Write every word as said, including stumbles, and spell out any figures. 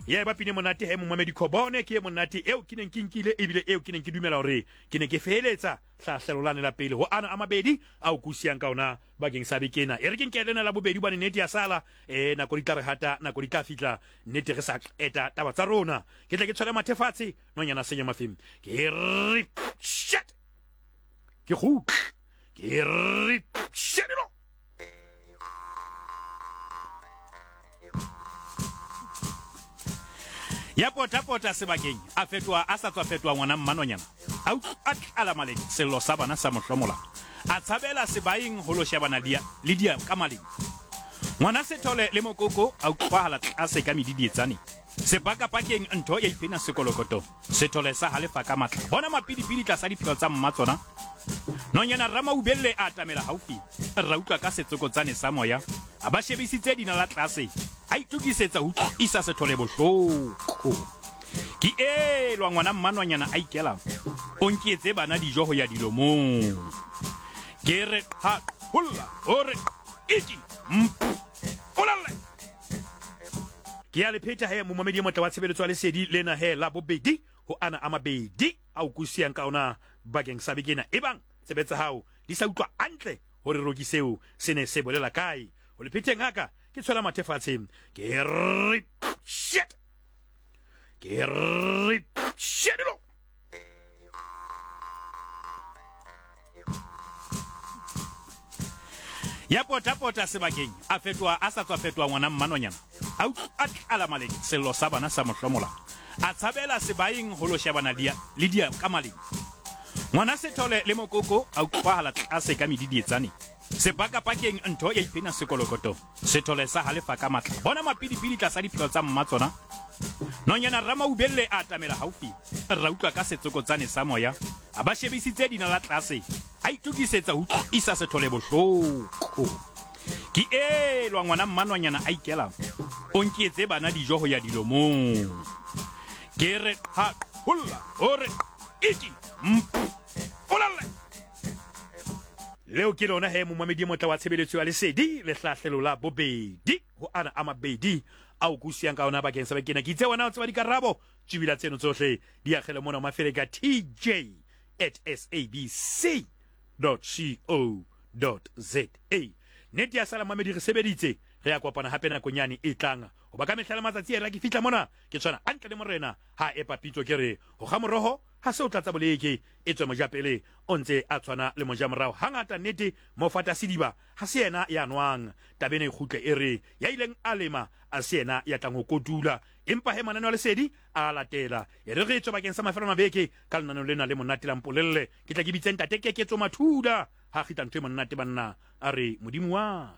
Ya eba pine monate he momamedi Khobone ke e monate eo ke neng ke nkile ebile eo ke neng ke dumela hore ke ne ke feheletsa hlahlelo lane la pele ho ana a mabedi ao ke o siyang ka ona bakeng sa beke ena. E re ke nke lena la bobedi hobane nnete ya sala eh nako di tla re hata, nako di tla fihla nnete re sa qeta taba tsa rona. Ke tle ke tshwele mathe fatshe nonyana senya mafeng. Ke re shit. Ke kgutle. Ke re shit. Ya pota-pota sebakeng, a fetoha a sa tswa fetoha ngwana mmanonyana. A utlwa a tlala maleng, sello sa bana sa mo hlomola. A tshabela sebaeng ho lo shebana dia, le dia ka maleng. Ngwana Sethole le mokoko a utlwahala tlase ka medidietsane. Sepakapakeng ntho ya iphina sekolokoto. Sethole sa halefa ka matla. Bona mapidipidi tlasa dipheo tsa mma tsona. Nonyana Ramaubelle a atamela haufi. Ra utlwa ka setsokotsane sa moya. A ba shebisitse dinala tlase. A itokisetsa ho utlwisa Sethole bohloko. Ke elwa ngwana mmanwanyana a ikela. O nkietse bana dijo ho ya dilomong. Ke re qha holla o re iti mpolalle. Ke ya le pheta he momamedi e motle wa tshebeletso ya lesedi lena he la bobedi ho ana a mabedi ao ke o siyang ka ona bakeng sa beke ena. Ebang tsebe tsa hao di sa utlwa hantle hore roki seo se ne se bolela kae. Ho le phetheng haka ke tshwela mathe fatshe. Ke re shit. Ke re shit. Ya pota-pota sebakeng, a fetoha a sa tswa fetoha ngwana mmanonyana. A utlwa a tlala maleng, sello sa bana sa mo hlomola. A tshabela sebaeng ho lo shebana dia, le dia ka maleng. Ngwana Sethole le mokoko a utlwahala tlase ka medidietsane. Sepakapakeng ntho ya iphina sekolokoto. Sethole sa halefa ka matla. Bona mapidipidi tlasa dipheo tsa mma tsona. Nonyana Ramaubelle a atamela haufi. Ra utlwa ka setsokotsane sa moya. A ba shebisitse dinala tlase. A itokisetsa ho utlwisa Sethole bohloko. Ke elwa ngwana mmanwanyana a ikela. O nkietse bana dijo ho ya dilomong. Ke re qha holla o re iti mpolalle. Leo ke lona he momamedi e motle wa tshebeletso ya lesedi le hlahlelo la bobedi ho ana a mabedi ao ke o siyang ka ona bakeng sa beke ena. Ke itse wena o tseba dikarabo tjibila tseno tsohle di akgele mona Mafeleka T J at sabc dot co dot za. Nnete ya sala mamedi re sebeditse, re ya kopana hape nakong yane e tlang. Hoba ka mehla le matsatsi e ra ke fihla mona ke tshwana hantle le morena ha epa pitso ke re ho kga moroho ha se o tlatsa boleke e tswe mojapele o ntse a tshwana le mojamorao. Hangata nnete mofata sediba ha se yena ya nwang. Taba ena e kgutle e re ya ileng a lema a se yena ya tlang ho kotula. Empa he mananeo a lesedi a latela. E re re tswe bakeng sa mafelo a mabeke ka lenaneo lena le monate la mpolelle. Ke tla ke bitse ntate Keketso Mathula ha kgitla ntho e monate banna a re modimo wa